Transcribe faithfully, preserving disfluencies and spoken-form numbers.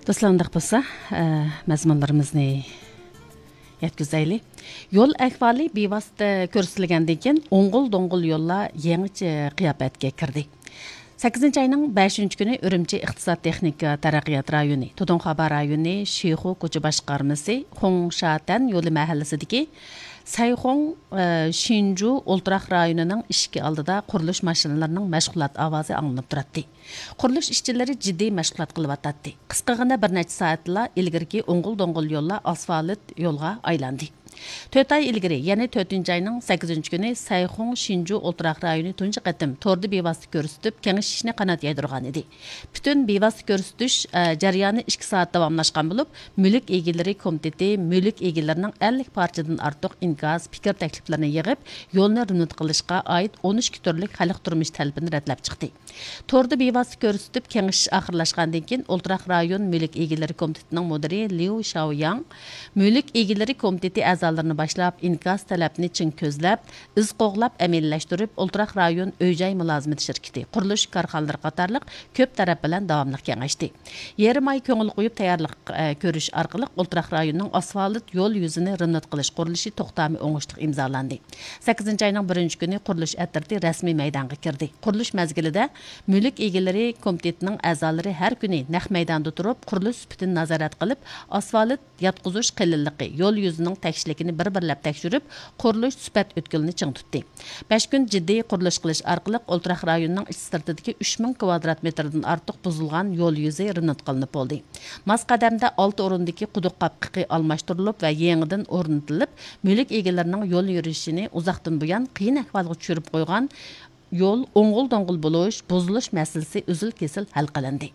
دوستلار، ئۇنداق بولسا، ئە، مەزمۇنلىرىمىزنى يەتكۈزەيلى. يول ئەھۋالى بىۋاسىتە كۆرسىتىلگەندىن كېيىن، ئوڭغۇل دوڭغۇل يوللار يېڭىچە قىياپەتكە كىردى. سەككىزىنچى ئاينىڭ بەشىنچى كۈنى ئۈرۈمچى ئىقتىساد تېخنىكا تەرەققىيات رايونى، تۇدۇڭخابا رايونى شىخۇ كوچا باشقارمىسى خۇڭشاتەن يولى مەھەللىسىدىكى سەيخۇڭ، ئە، شىنجۇ ئولتۇراق رايونىنىڭ ئىشىكى ئالدىدا قۇرۇلۇش ماشىنىلىرىنىڭ مەشغۇلات ئاۋازى ئاڭلىنىپ تۇراتتى. قۇرۇلۇش ئىشچىلىرى جىددىي مەشغۇلات قىلىۋاتاتتى. قىسقىغىنە بىر نەچچە سائەتلا ئىلگىرىكى ئوڭغۇل دوڭغۇل يوللار ئاسفالت يولغا ئايلاندى. تۆت ئاي ئىلگىرى، يەنى تۆتىنچى ئاينىڭ سەككىزىنچى كۈنى سەيخۇڭ شىنجۇ ئولتۇراق رايونى تۇنجى قېتىم توردا بىۋاسىتە كۆرسىتىپ، كېڭىشىشنى قانات يايدۇرغان ئىدى. پۈتۈن بىۋاسىتە كۆرسىتىش، ئە، جەريانى ئىككى سائەت داۋاملاشقان بولۇپ، مۈلۈك ئىگىلىرى كومىتېتى مۈلۈك ئىگىلىرىنىڭ ئەللىك پارچىدىن ئارتۇق ئىنكاس، پىكىر تەكلىپلىرىنى يىغىپ، يولنى رېمونت قىلىشقا ئائىت ئون ئىككى تۈرلۈك خەلق تۇرمۇش تەلىپىنى رەتلەپ چىقتى. توردا بىۋاسىتە كۆرسىتىپ كېڭىشىش ئاخىرلاشقاندىن كېيىن، ئولتۇراق رايون مۈلۈك ئىگىلىرى كومىتېتىنىڭ مۇدىرى ليۇ شاۋياڭ مۈلۈك ئىگىلىرى كومىتېتى ئەزالىرىنى باشلاپ، ئىنكاس تەلەپنى چىڭ كۆزلەپ، ئىز قوغلاپ ئەمەلىيلەشتۈرۈپ، ئولتۇراق رايون ئۆي جاي مۇلازىمىتى شىركىتى، قۇرۇلۇش كارخانىلىرى قاتارلىق كۆپ تەرەپ بىلەن داۋاملىق كېڭەشتى. يېرىم ئاي كۆڭۈل قويۇپ تەييارلىق، ئە، كۆرۈش ئارقىلىق ئولتۇراق رايوننىڭ ئاسفالت يول يۈزىنى رېمونت قىلىش قۇرۇلۇشى توختامى ئوڭۇشلۇق ئىمزالاندى. سەككىزىنچى ئاينىڭ بىرىنچى كۈنى قۇرۇلۇش ئەترىتى رەسمىي مەيدانغا كىردى. قۇرۇلۇش مەزگىلىدە مۈلۈك ئىگىلىرى كومىتېتىنىڭ ئەزالىرى ھەر كۈنى نەق مەيداندا تۇرۇپ، قۇرۇلۇش سۈپىتىنى نازارەت قىلىپ، ئاسفالت ياتقۇزۇش قېلىنلىقى، يول يۈزىنىڭ تەكشىلىكىنى بىر-بىرلەپ تەكشۈرۈپ، قۇرۇلۇش سۈپەت ئۆتكىلىنى چىڭ تۇتتى. بەش كۈن جىددىي قۇرۇلۇش قىلىش ئارقىلىق ئولتۇراق رايونىنىڭ ئىچ سىرتىدىكى ئۈچ مىڭ كىۋادرات مېتىردىن ئارتۇق بۇزۇلغان يول يۈزى رېمونت قىلىنىپ بولدى. ماس قەدەمدە ئالتە ئورۇندىكى قۇدۇق قاپقىقى ئالماشتۇرۇلۇپ ۋە يېڭىدىن ئورنىتىلىپ، مۈلۈك ئىگىلىرىنىڭ يول يۈرۈشىنى ئۇزاقتىن بۇيان قىيىن ئەھۋالغا چۈشۈرۈپ قويغان يول ئوڭغۇل دوڭغۇل بولۇش، بۇزۇلۇش مەسىلىسى ئۈزۈل كېسىل ھەل قىلىندى.